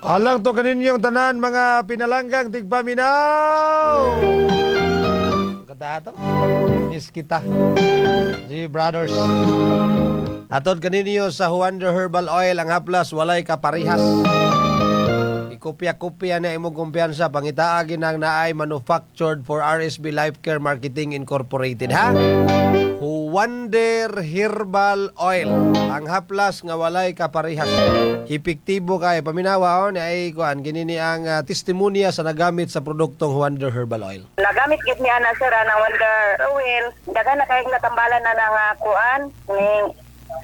Alang to kaninyong tanan mga pinalanggang tigpaminaw. Katato. Miss kita. G Brothers. Atod kaninyo sa Huander Herbal Oil, ang haplas walay kaparihas. Ikopya-kopya na imong kumpiyansa, pangitaa ginang naay manufactured for RSB Life Care Marketing Incorporated, ha. Huwander Herbal Oil. Ang haplas nga walay kaparihas. Epektibo kay paminawa on ay kuan kinini ang testimonya sa nagamit sa produktong Huwander Herbal Oil. Nagamit gid ni ana, sir, ang Wonder Oil. Daghan na kayong natambalan na nga kuan ning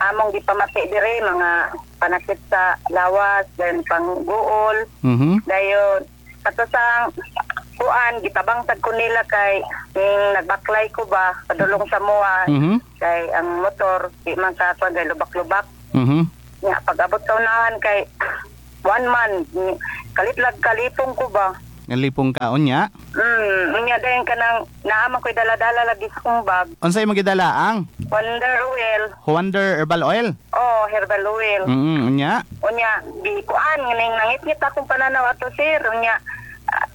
among gipamati dire, mga panakit sa lawas, then pangguol. Dayon kato sa kuan gitabang sad ko nila kay ning nagbaklay ko ba padulong sa moa kay ang motor di man ka kuan kay lubak-lubak. Nya pag abot sa unahan kay one man kalitlag kalipong ko ba. Nalipong kaon niya. Unya dayon kanang naa man ko'y dala-dala lagi sa kong bag. Unsay imong gidala ang Wonder Oil. Wonder Herbal Oil? Oh, herbal oil. Unya. Unya di kuan ning nangitngit akong pananaw ato, sir. Unya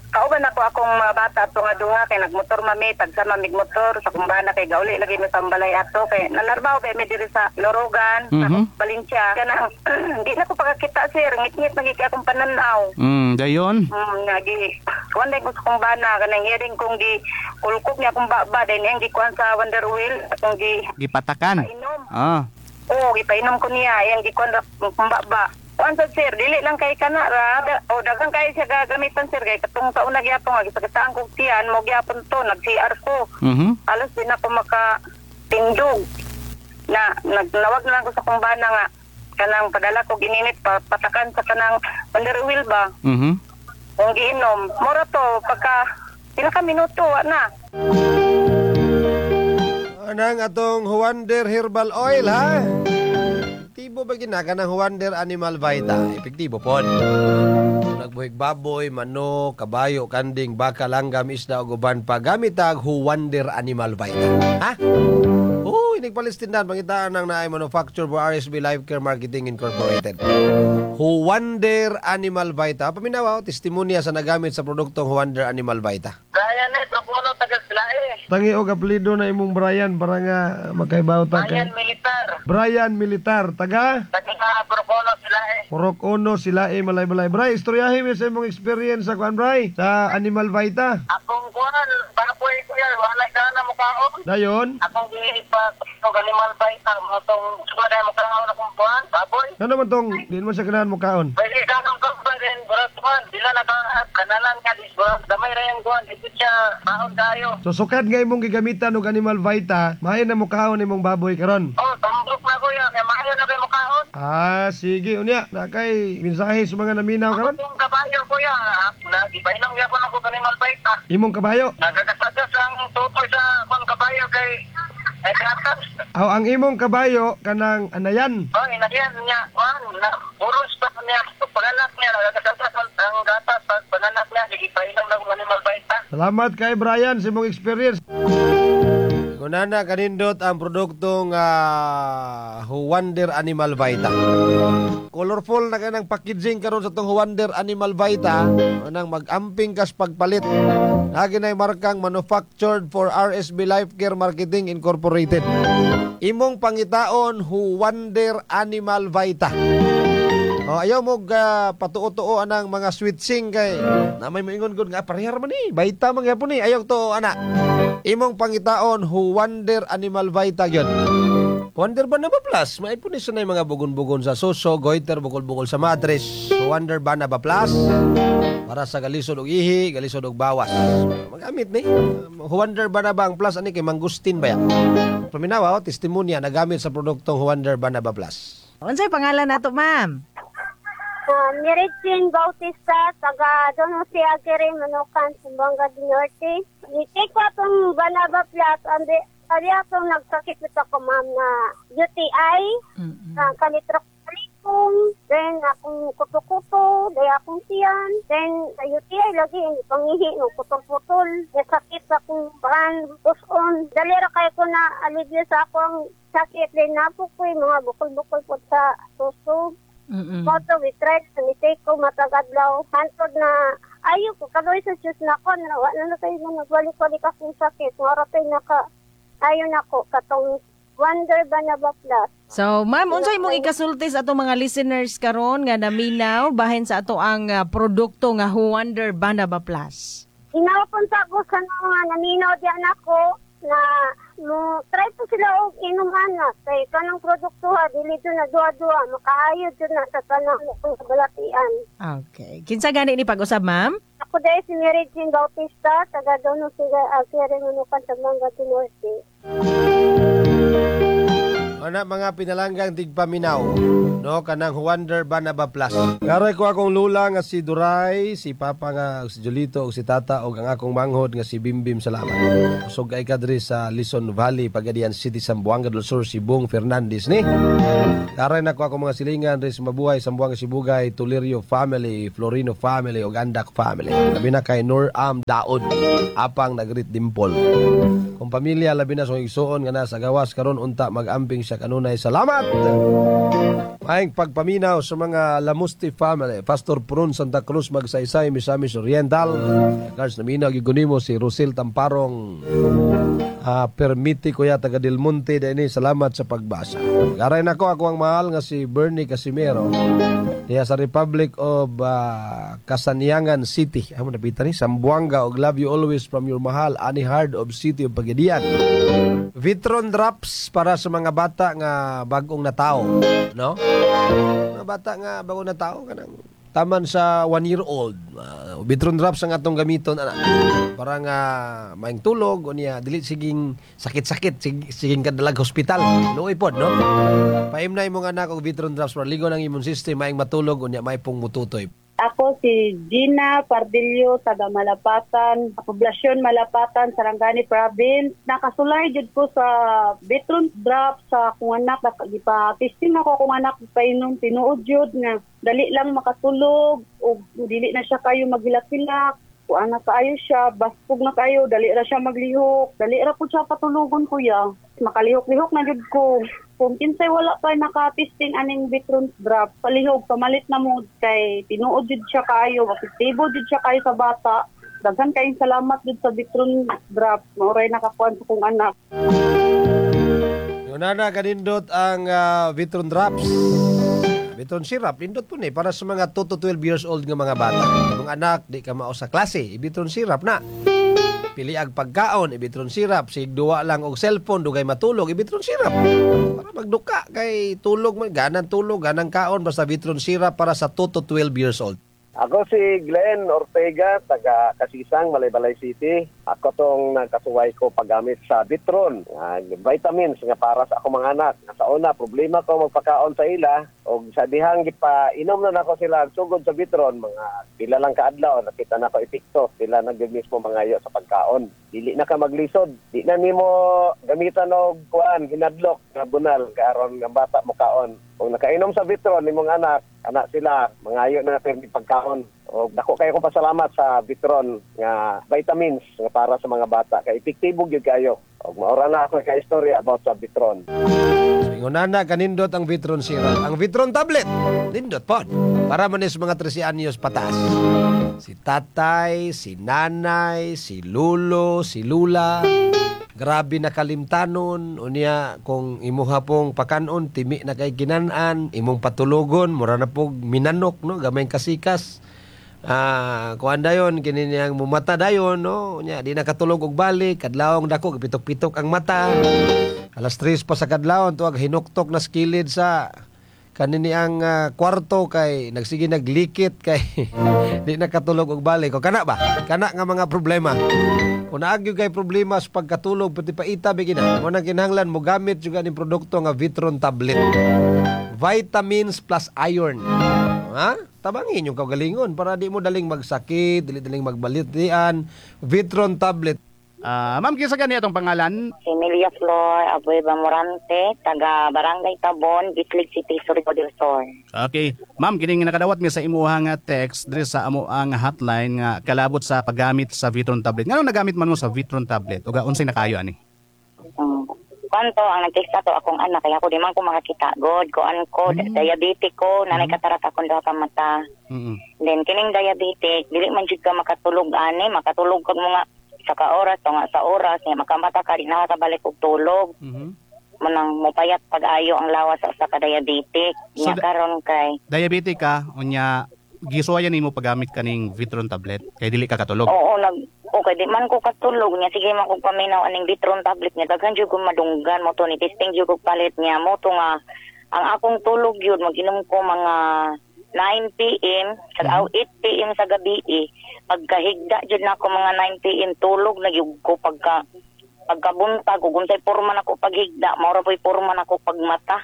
kauban ako akong mga bata ato nga duha kay nagmotor mami, tagsa mamig motor sa kumbana kay gauli lagi mi pambalay ato kay nanarbaho kay mi diri sa Lorogan, sa Valencia. Kanang di na ko pagkakita, sir, ngitngit lagi kay akong pananaw. Dayon. Nagi kuan din ko sa kumbana kanang hearing kong gi kulkog niya akong baba din ang gikuan sa Wonder Wheel akong gi Gipatakan. painom. Ah. Oo, gipainom ko niya iyang gikuan ra akong baba. Kuan sa sir, dili lang kay kana ra o daghan kay siya gagamitan, sir, kay katong sa una gyapon nga gisakitaan kog tiyan mo gyapon to nag CR ko. Alos din ako maka tindog. Na nagnawag na lang ko sa kumbana nga kanang padala ko gininit pa, patakan sa kanang Wonder Wheel ba. Kung giinom, mura to pagka pila ka minuto wa na. Anang atong Huwander Herbal Oil, ha? Epektibo ba ginaka ng Huwander Animal Vita? Epektibo pod. Nagbuhig baboy, manok, kabayo, kanding, baka, langgam, isda ug uban pa gamit ang Huwander Animal Vita. Ha? Oo, inig Palestindan, pangitaan ng naay manufacture for RSB Life Care Marketing Incorporated. Huwander Animal Vita. Paminawa, testimonya sa nagamit sa produktong Huwander Animal Vita. Brian eh, Proculo, taga Silae. Tangi og apelyido na imong Brian para nga makaibaw ta kay Brian Militar. Brian Militar, taga Taga Proculo, Silae. Purok Uno, Silae, Malaybalay. Bray, istoryahin mo sa imong experience sa kuan, Bray, sa Animal Vita. Akong kuan, baboy ko yan, wala ka na mukhaon. Dayon, Akong giipa og Animal Vita, mo tong sugad ay mukhaon akong kuan, baboy. Ano man tong di mo sa kanahan mukaon? Pwede ka akong kuan burat kuan, dila na ka kanalan ka dis burat damay ra yung kuan, dito siya maon kayo. So sukad nga imong gigamitan og Animal Vita, maayo na mukaon imong baboy karon. Oh, tambok na kuya, kay maayo na kay mukaon. Ah, sige unya, na kay mensahe sa mga naminaw karon. Akong kabayo kuya, na gipainom gyapon ako Animal Vita. Imong kabayo. Nagagasagas ang tutoy sa akong kabayo kay ay gatas. Aw, ang imong kabayo kanang anayan. Oh, inagyan niya, kuan, na buros pa niya, paganak niya, nagagasagas ang gatas pag paganak niya, gipainom na akong Animal Vita. Salamat kay Brian sa imong experience. Kunana kanindot ang produktong Huwander Animal Vita. Colorful na kanang packaging karon sa tong Huwander Animal Vita. Anang mag-amping kas pagpalit. Lagi na markang manufactured for RSB Life Care Marketing Incorporated. Imong pangitaon Huwander Animal Vita. Oh, ayaw mo patuo-tuo anang mga switching kay na may moingon gud nga parehar man ni, Vita man gyapon ni. Ayaw to ana. Imong pangitaon Huwander Animal Vita gyud. Wonder ba na ba plus? May po ni sa mga bugon-bugon sa suso, goiter, bukol-bukol sa matres. Wonder ba na ba plus? Para sa galisod og ihi, galisod og bawas. Magamit ni. Wonder ba na ba ang plus ani kay mangustin ba ya? Paminawa, oh, testimonya nagamit sa produktong Wonder ba na ba plus. Unsay pangalan nato, ma'am? Mary Jane Bautista, taga Don Jose Aguirre, Manukan, Zamboanga del Norte. Ni-take ko atong Banaba Plus, andi, ali atong nagsakit nito ko, ma'am, na UTI, kalitrok kalikong, then akong kuto-kuto, then akong tiyan, then sa UTI lagi, hindi pangihi, ng putol-putol, sakit akong brand, uson. Dali ra kayo ko na alivio sa akong sakit, then napo ko yung mga bukol-bukol po sa suso. Mao to gi-try sa ni take ko matag adlaw hantod na ayo ko kaboy sa Diyos na ko na wa na kayo na nagbalik-balik akong sakit. Mao ra kay naka ayo nako katong Wonder Banaba Plus. So, ma'am, unsay imong ikasulti sa atong mga listeners karon nga naminaw bahin sa ato ang produkto nga Wonder Banaba Plus? Inawapon sa ako sa mga naminaw diyan ako na mo try po sila og inom ana kay kanang produkto ha dili jud na duha-duha, makaayo jud na sa tanang balatian. Okay. Kinsa gani ni pag-usab, ma'am? Ako dahil si Mary Jean Bautista, taga Dono Siga, Alfieri, Manukan, Zamboanga del Norte. Ana mga pinalanggang tigpaminaw, no, kanang Wonder Banaba Plus. Ngaray ko akong lula nga si Duray, si papa nga si Julito ug si tata ug ang akong manghod nga si Bimbim, salamat. Kusog kay kadri sa Lison Valley, Pagadian City, Zamboanga del Sur, si Bong Fernandez ni. Karay na ko akong mga silingan diri sa Mabuhay, Zamboanga Sibugay, Tulirio family, Florino family ug Andak family. Labi na kay Nur Am Daud, apang nagrit dimpol. Kung pamilya labi na sa igsuon nga nasa gawas karon unta mag-amping siya kanunay. Salamat. Maayong pagpaminaw sa mga Lamusti family, Pastor Prun Santa Cruz Magsaysay, Misamis Oriental. Regards, naminaw gyud nimo si Rosil Tamparong Permiti kuya taga Del Monte dinhi, salamat sa pagbasa. Garay nako ako ang mahal nga si Bernie Casimero diya sa Republic of Kasanyangan City. Amo napita ni Zamboanga og love you always from your mahal Annie Hard of City of Pagadian. Vitron Drops para sa mga bata nga bagong natao, no? Mga bata nga bagong natao, kanang taman sa 1 year old. Vitron Drops ang atong gamiton ana. Para nga maayong tulog unya dili siging sakit-sakit, siging kadalag hospital. Luoy pod, no? Paimna imong anak og Vitron Drops para ligon ang immune system, maayong matulog unya may pong mututoy. Ako si Gina Pardillo, taga Malapatan, poblasyon Malapatan, Sarangani Province. Nakasulay jud ko sa Vitron Drop sa akong anak. Gipa-testing ako akong anak painom, tinuod jud nga dali lang makatulog ug dili na siya kayo maghilak-hilak. Kuan na kaayo siya, baskog na kaayo, dali ra siya maglihok. Dali ra pud siya patulugon, kuya. Makalihok-lihok na jud ko. Kung kinsay wala pa naka-testing aning Vitron Drop, palihog pamalit na mo kay tinuod jud siya kaayo, epektibo jud siya kaayo sa bata. Daghan kayong salamat jud sa Vitron Drop. Mao ray nakakuan sa kong anak. Yun na kanindot ang Vitron Drops. Vitron syrup, nindot po ni para sa mga 2 to 12 years old nga mga bata. Imong anak di ka mao sa klase, Vitron syrup na. Pili ag pagkaon, Vitron syrup. Sig duwa lang og cellphone, dugay matulog, Vitron syrup. Para magduka kay tulog man, ganang tulog, ganang kaon, basta Vitron syrup para sa 2 to 12 years old. Ako si Glenn Ortega, taga Kasisang, Malaybalay City. Ako tong nagkasuway ko paggamit sa Vitron, vitamins nga para sa ako mga anak. Sa una, problema ko magpakaon sa ila. O sa dihang gipa, inom na nako sila sugod sa Vitron, mga pila lang kaadlaw, nakita na ko epekto. Sila na gyud mismo mangayo sa pagkaon. Dili na ka maglisod. Di na nimo gamitan og kuan, hinadlok nga bunal karon nga bata mo kaon. Kung nakainom sa Vitron nimong anak, anak sila mangayo na permi pagkaon. O dako kayo kong pasalamat sa Vitron nga vitamins nga para sa mga bata kay epektibo gyud kayo. Og maura na ako ka istorya about sa Vitron. So, ingon na kanindot ang Vitron syrup. Ang Vitron tablet, nindot pod. Para man is mga 13 anyos pataas. Si tatay, si nanay, si lulo, si lula. Grabe na kalimtanon. Unya, kung imuha pong pakanon, timi na kay ginan-an, imong patulogon, mura na pog minanok, no? Gamay kasikas. Kuan dayon kini niyang mumata dayon, no? Unya di na katulog og balik, kadlawong dako pitok-pitok ang mata. Alas 3 pa sa kadlawon tuwag hinuktok na skilid sa kanini ang kwarto kay nagsige naglikit kay di na katulog og balik. O kana ba? Kana nga mga problema. Kung naagyo kay problema sa pagkatulog pati paita bigina. Mo nang kinahanglan mo gamit juga ning produkto nga Vitron tablet. Vitamins plus iron. Ha? Tabangin yung kaugalingon para di mo daling magsakit, dili daling magbalitian. Vitron tablet. Ma'am, kinsa gani atong pangalan? Emilia Flor Abueva Morante, taga Barangay Tabon, Bislig City, Surigao del Sur. Okay. Ma'am, kining nakadawat mi sa imuha nga text diri sa amo ang hotline nga kalabot sa paggamit sa Vitron tablet. Nganong nagamit man mo sa Vitron tablet? Uga unsay nakayo ani? Kwanto ang nagtext ato akong anak kaya ako di man ko makakita god kuan ko diabetic ko nanay katarak akong duha ka mata. Then kining diabetic dili man jud ka makatulog ani, makatulog kag mga sa ka oras to nga sa oras niya makamata ka di na ka balik og tulog. Manang mopayat pag-ayo ang lawas sa ka diabetic. So, Nya karon kay Diabetic ka, unya gisuwayan nimo paggamit kaning Vitron tablet kay dili ka katulog. Oo, okay, di man ko katulog niya. Sige man kong paminaw aning Vitron tablet niya. Daghan jud kong madunggan mo to ni testing jud kog palit niya mo to nga ang akong tulog yun mag-inom ko mga 9 PM sa 8 PM sa gabi eh. Pagkahigda jud na ako mga 9 PM tulog na gyud ko pagkabuntag ug unsay porma nako paghigda mao ra po'y porma nako pagmata.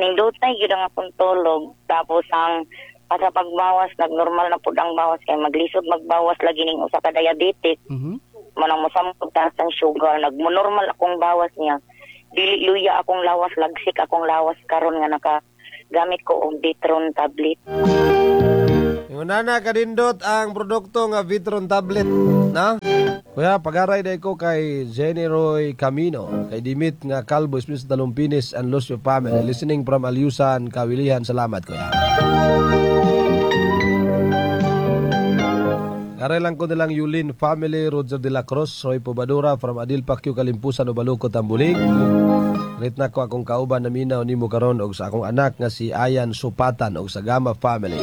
Nindutay gyud ang akong tulog. Tapos ang sa pagbawas nagnormal na pud ang bawas kay maglisod magbawas lagi ning usa ka diabetic. Manang mosamot taas ang sugar nagmonormal akong bawas niya. Dili luya akong lawas, lagsik akong lawas karon nga naka gamit ko og Vitron tablet. Yung nana kadindot ang produkto nga Vitron tablet, na? Kuya, pagaray day ko kay Jenny Roy Camino, kay Dimit nga Calvo, Smith Talumpinis and Lucio family, listening from Alyusan, Kawilihan. Salamat, kuya. Aray lang ko nilang Yulin family, Roger de la Cruz, Roy Pobadura from Adil Pacquiao, Kalimpusan, Ubaluco, Tambulig. Rit na ko akong kauban na minaw nimo karon og sa akong anak nga si Ayan Supatan og sa Gama family.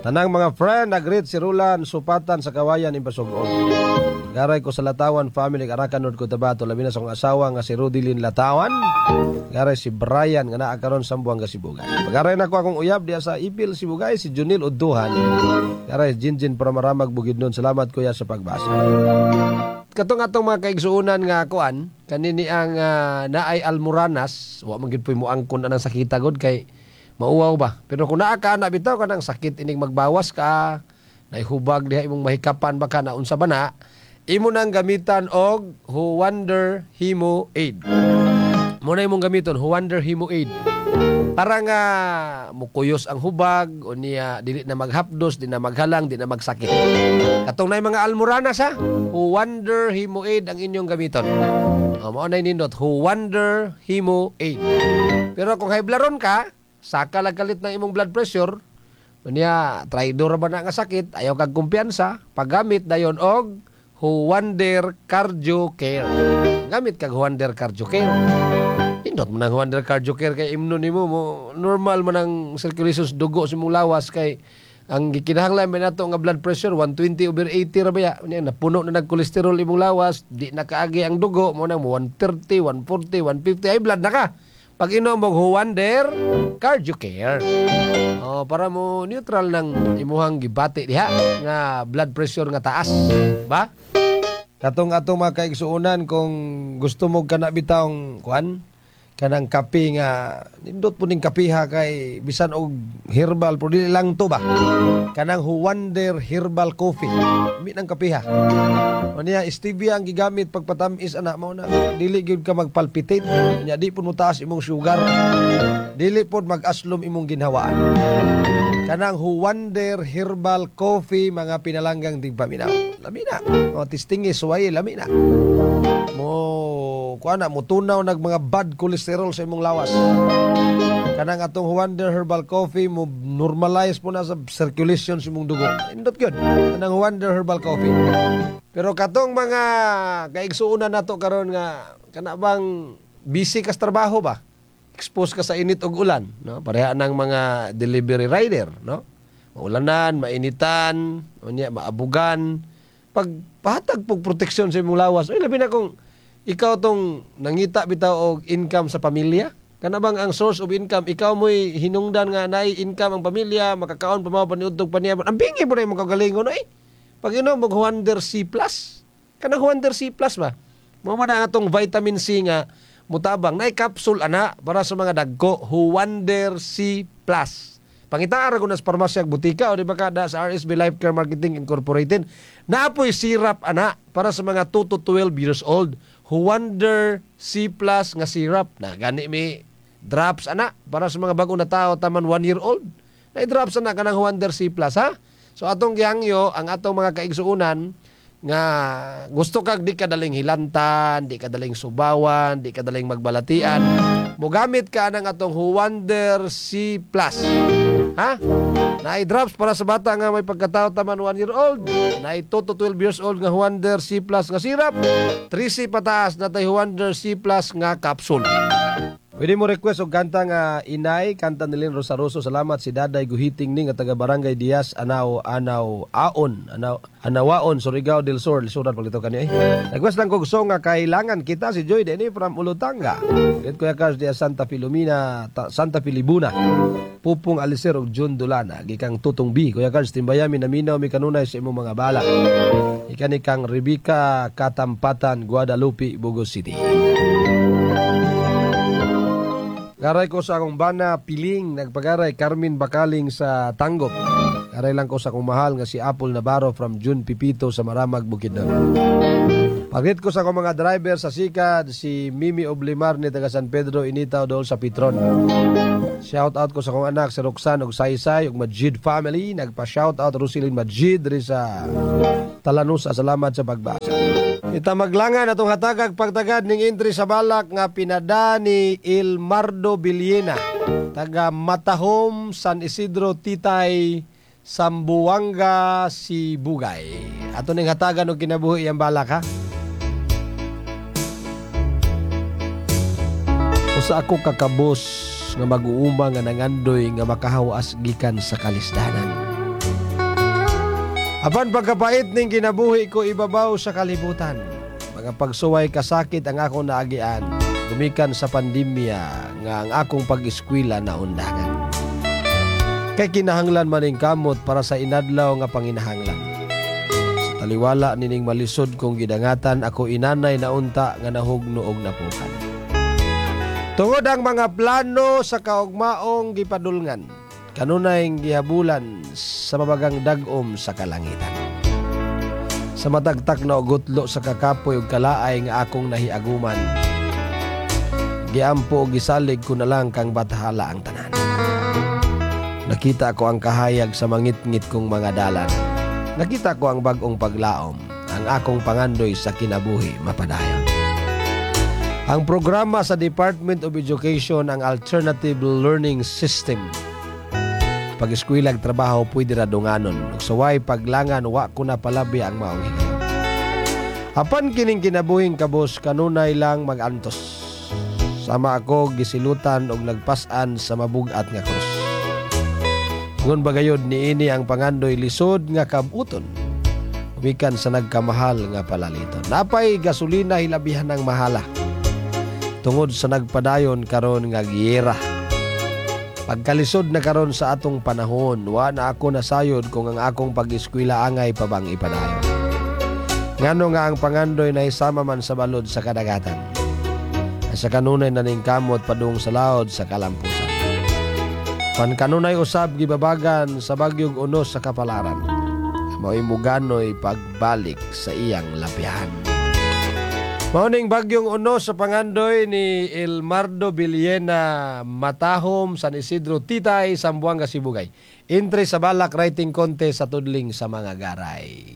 Tanang mga friend, nagreet si Rulan Supatan sa Kawayan, Impasugong. Garay ko sa Latawan family, Arakan North Cotabato, labi na sa akong asawa nga si Rodilyn Latawan. Garay si Brian nga naa karon sa Zamboanga Sibugay. Pagaray na ko akong uyab diya sa Ipil Sibugay, si Junil Udduhan. Garay Jinjin Pramaramag Bukidnon. Salamat kuya sa pagbasa. Katong atong mga kaigsuonan nga kuan kanini ang naay almoranas, wa man gid puy moangkon anang sakita gud kay mauwaw ba. Pero kung naa ka ana bitaw kanang sakit inig magbawas ka, naihubag diha imong mahikapan baka na unsa ba na, imo nang gamitan og Huwander Hemo Aid. Mo na imong gamiton Huwander Hemo Aid. Para nga mukuyos ang hubag o niya dili na maghapdos, di na maghalang, di na magsakit. Katong na mga almoranas ha, Huwander Hemo Aid ang inyong gamiton. O, mao na nindot, Huwander Hemo Aid. Pero kung haiblaron ka, saka lang kalit ng imong blood pressure, niya traidor ba na nga sakit, ayaw kag kumpiyansa, paggamit dayon og Huwander Cardio Care. Gamit kag Huwander Cardio Care. Indot mo nang Huwander Cardio Care kay imno nimo mo normal man ang circulation sa dugo sa imong lawas kay ang gikinahanglan man nato nga blood pressure 120/80 ra ba ya. Unya napuno na nag cholesterol imong lawas, di na kaagi ang dugo mo nang 130, 140, 150 ay blood na ka. Pag inom og Huwander Cardio Care. Oh, para mo neutral ng imuhang gibati diha nga blood pressure nga taas, ba? Katong atong mga kaigsuonan kung gusto mo kana bitawng kuan kanang kape nga nindot po ning kapiha kay bisan og herbal pero dili lang to ba, kanang Huwander Herbal Coffee mi nang kapiha unya stevia ang gigamit pagpatamis ana mao na dili gyud ka magpalpitate unya di pud mo taas imong sugar, dili pud mag-aslom imong ginhawaan. Kanang Huwander Herbal Coffee mga pinalanggang tigpaminaw, lami na o tistingi suwaye lami na mo kuan na motunaw nag mga bad cholesterol sa imong lawas. Kanang atong Huwander Herbal Coffee mo normalize po na sa circulation sa imong dugo. Indot gyud kanang Huwander Herbal Coffee. Pero katong mga kaigsuonan nato karon nga kana bang busy ka sa trabaho ba? Expose ka sa init ug ulan, no? Pareha nang mga delivery rider, no? Maulanan, mainitan, unya maabugan. Pag pahatag pug proteksyon sa imong lawas, oy labi na kung ikaw tong nangita bitaw og income sa pamilya. Kana bang ang source of income ikaw mo'y hinungdan nga naay income ang pamilya, makakaon pa mao paniudtog pa niya. Ang bingi po na imong kagalingon oy. Pag inom og Huwander C+. Kanang Huwander C+ ba? Mao man ang atong vitamin C nga mutabang naay capsule ana para sa mga dagko, Huwander C+. Pangitaan ra ko na sa parmasya ug butika o di ba kada sa RSB Life Care Marketing Incorporated. Naapoy syrup ana para sa mga 2 to 12 years old. Huwander C+ nga syrup na gani mi drops ana para sa mga bago na tao taman 1 year old. Na drops ana kanang Huwander C+, ha. So atong gihangyo ang atong mga kaigsuonan Nga gusto kag di ka daling hilantan, di ka daling subawan, di ka daling magbalatian. Mogamit ka ng atong Huwander C+. Ha? Naay drops para sa bata nga may pagkatao taman 1 year old. Naay 2 to 12 years old nga Huwander C+ nga syrup. 3C pataas na tay Huwander C+ nga capsule. Pwede mo request og kanta nga Inay, kanta ni Lynn Rosaroso. Salamat si Daday Guhiting ni nga taga Barangay Diaz, Anao, Anao, Aon, Anao, Anawaon, Surigao del Sur. Lisuran paglito kani ay. Request lang kog song nga Kailangan Kita, si Joy Denny from Ulutanga. Great Kuya Cars diya Santa Filomena, Santa Filibuna. Pupong Alicer og John Dulana, gikang Tutong B. Kuya Cars, timbayami naminaw mi kanunay sa imong mga bala. Ikan kang Rebecca Katampatan, Guadalupe, Bugos City. Garay ko sa akong bana Piling, nagpagaray Carmen Bakaling sa Tanggop. Garay lang ko sa akong mahal nga si Apple Navarro from June Pipito sa Maramag, Bukidnon. Pagit ko sa akong mga driver sa Sikad, si Mimi Oblimar ni taga San Pedro, Initaw dool sa Petron. Shout out ko sa akong anak si Roxanne og Saysay og Majid family. Nagpa-shout out Rosilyn Majid diri sa Talanusa. Salamat sa pagbasa. Ita maglangan atong hatagag pagtagad ning entry sa balak nga pinada ni Ilmardo Villena, taga Matahom, San Isidro, Titay, Sambuanga, Sibugay. Ato ning hatagan og kinabuhi ang balak ha. Usa ako kakabos nga mag-uuma nga nangandoy nga makahawas gikan sa kalisdanan. Apan pagkapait ning kinabuhi ko ibabaw sa kalibutan. Mga pagsuway kasakit ang akong naagian. Gumikan sa pandemya nga ang akong pag-eskwela na undangan. Kay kinahanglan maning kamot para sa inadlaw nga panginahanglan. Sa taliwala nining malisod kong gidangatan, ako inanay na unta nga nahugno og napukan. Tungod ang mga plano sa kaugmaong gipadulngan, kanunay gihabulan sa mabagang dag-om sa kalangitan. Sa matagtak na ugutlo sa kakapoy ug kalaay nga akong nahiaguman, giampo og gisalig ko na lang kang bathala ang tanan. Nakita ko ang kahayag sa mangitngit kong mga dalan. Nakita ko ang bag-ong paglaom, ang akong pangandoy sa kinabuhi mapadayon. Ang programa sa Department of Education ang Alternative Learning System. Pag-eskwilag trabaho pwede ra dunganon. Ug suway paglangan wa ko na palabi ang maong higayon. Apan kining kinabuhing kabos kanunay lang magantos. Sama ako gisilutan og nagpas-an sa mabugat nga krus. Ngon bagayod niini ang pangandoy lisod nga kabuton. Umikan sa nagkamahal nga palaliton. Napay gasolina hilabihan ang mahala. Tungod sa nagpadayon karon nga giyera. Pagkalisod na karon sa atong panahon, wa na ako nasayod kung ang akong pag-eskwela angay pa bang ipadayon. Ngano nga ang pangandoy na isama man sa balod sa kadagatan. Sa kanunay na ning kamot padung sa laod sa kalampusan. Pankanunay usab gibabagan sa bagyog unos sa kapalaran. Mao'y muganoy pagbalik sa iyang lapihan. Mauning bagyong unos sa pangandoy ni Elmardo Villena, Matahom, San Isidro, Titay, Sambuanga, Sibugay. Entry sa balak writing contest sa tudling sa mga garay.